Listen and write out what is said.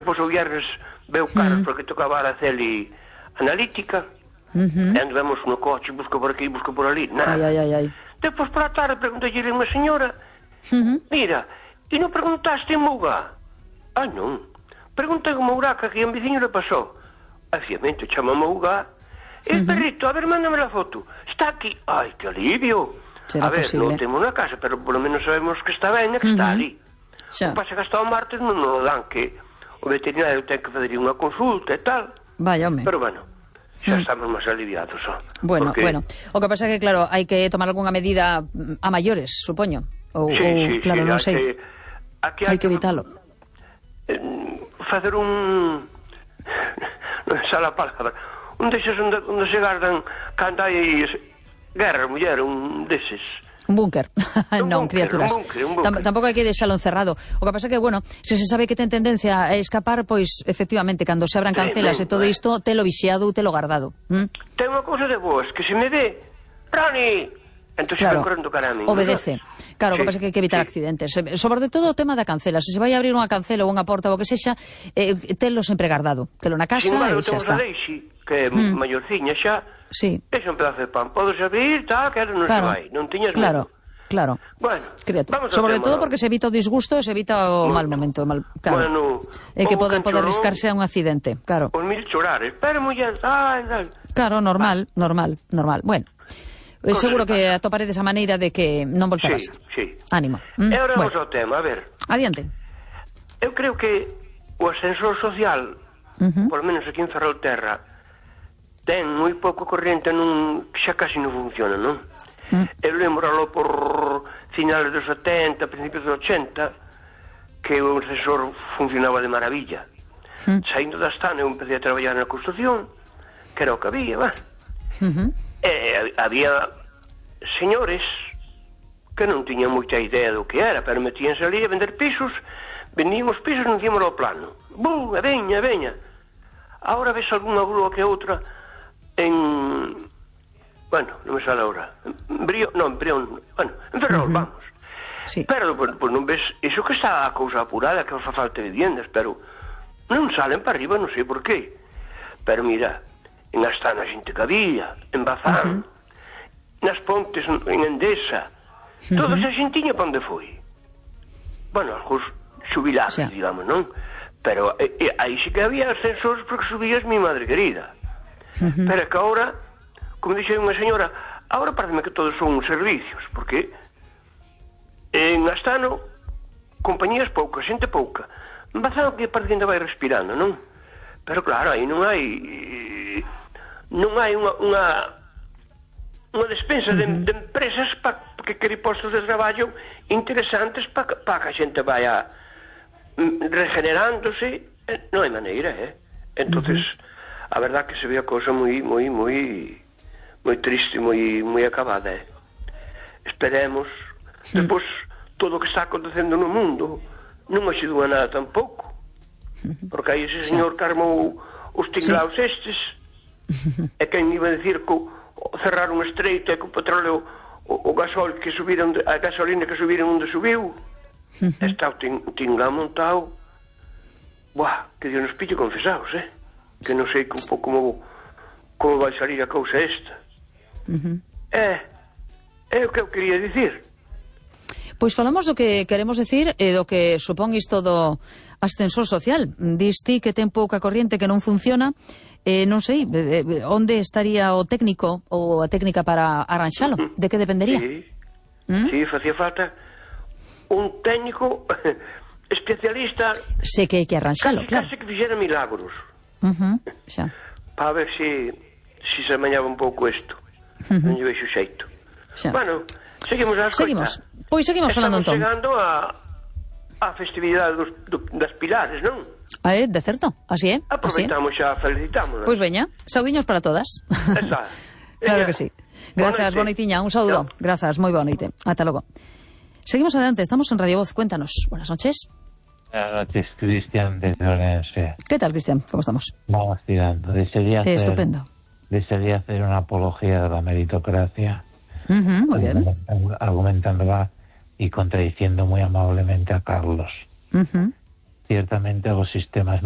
despois o viernes veu Carlos porque tocaba a Araceli analítica, e andamos no coche, busca por aquí, busca por ali, nada. Depois por a tarde preguntei a unha señora, mira, e non preguntaste en Mougá? Ah, non. Preguntei en Mougá que aquí a un veciño le pasou. Obviamente, chama Mougá. El perrito, a ver, mándame la foto. Está aquí. Ai, que alivio. A ver, non temos na casa, pero polo menos sabemos que está ben e que está ali. O pasa que hasta o martes non nos dan, que o veterinario ten que fazer unha consulta e tal. Vaya, home. Pero bueno, xa estamos máis aliviados. Bueno. O que pasa é que, claro, hai que tomar algunha medida a maiores, supoño. Sí, claro, non sei. Hai que evitalo. Facer un... non sale a palabra. Un deses onde se gardan cando hai guerra, muller, un deses. Un búnker. Non, criaturas. Un búnker. Tampouco hai que deixalo encerrado. O que pasa é que, bueno, se sabe que ten tendencia a escapar, pois, efectivamente, cando se abran cancelas e todo isto, telo vixiado, telo guardado. Ten unha cousa de boas, que se me ve, Rani, entón se ven correndo cara a min. Obedece. Claro, o que pasa é que hai que evitar accidentes. Sobre todo o tema da cancela. Se vai abrir unha cancela ou unha porta ou o que sexa, telo sempre guardado. Telo na casa e xa está. Que é maiorciña xa, é un pedazo de pan, podes abrir, tal, que non se vai, non tiñas medo. Claro. Bueno, sobre todo porque se evita o disgusto e se evita o mal momento. Claro. É que pode riscarse a un accidente, claro. Os mil chorares, pero muller, claro, normal. Bueno, seguro que atoparedes a maneira de que non volta a pasar. Sí. Ánimo. E agora vamos ao tema, a ver. Adiante. Eu creo que o ascensor social, por lo menos aquí en Ferrolterra, ten moi pouco corriente, xa casi non funciona, non? Eu lembralo por finales dos 70, principios dos 80, que o ascensor funcionaba de maravilla. Saindo da Astana, eu empecé a traballar na construcción, que era o que había, había señores que non tiñan moita idea do que era, pero metíanse ali a vender pisos, vendíamos pisos e non tíamos o plano. Bum, e veña. Ahora ves algunha grúa que outra en... Bueno, non me sale ahora. En Ferrol, vamos. Pero, pues non ves... Iso que está a cousa apurada, que fa falta de viviendas, pero non salen para arriba, non sei por qué. Pero mira, en Astana a xente que había, en Bazán, nas Pontes, en Endesa, toda esa xentiña para onde foi? Bueno, algúns xubilados, digamos, non? Pero aí sí que había ascensores porque subías mi madre querida. Pero que ahora, como dixe unha señora, ahora pareceme que todos son servicios, porque en Astano compañías poucas, xente pouca. En Bazán que parece que ainda vai respirando, non? Pero claro, aí non hai unha despensa de empresas que quere postos de traballo interesantes para que a xente vaya regenerándose. Non hai maneira, entonces a verdad que se ve a cousa moi triste, moi acabada. Esperemos. Depois, todo o que está acontecendo no mundo non axudou a nada tampouco, porque aí ese señor que armou os tinglaos estes, e quen iba a decir que cerrar un estreito e que o petróleo, o gasol que subiron, a gasolina que subiron onde subiu, está o tinglao montado. Buah, que Dios nos pille confesados, que non sei un pouco como vai salir a cousa esta. É o que eu quería dicir. Pois falamos do que queremos dicir e do que supón isto do ascensor social. Dis ti que ten pouca corriente, que non funciona, non sei, onde estaría o técnico ou a técnica para arranxalo? De que dependería? Sí, facía falta un técnico especialista. Sei que hai que arranxalo, claro. Case que fixera milagros. Para ver se se amañaba un pouco isto. Non lle veixo xeito. Bueno, seguimos a escoita. Pois seguimos falando entón. Estamos chegando a festividade das Pilares, non? De certo, así é. Aproveitamos xa, felicitámonos. Pois veña, saudiños para todas. Claro que sí. Grazas, boa noitiña, un saúdo. Grazas, moi boa noite. Ata logo. Seguimos adelante, estamos en Radio Voz, cuéntanos. Buenas noches. Buenas noches, Cristian desde Orense. ¿Qué tal, Cristian? ¿Cómo estamos? Vamos tirando. Estupendo. Desearía hacer una apología de la meritocracia, muy bien. Argumentándola y contradiciendo muy amablemente a Carlos. Ciertamente los sistemas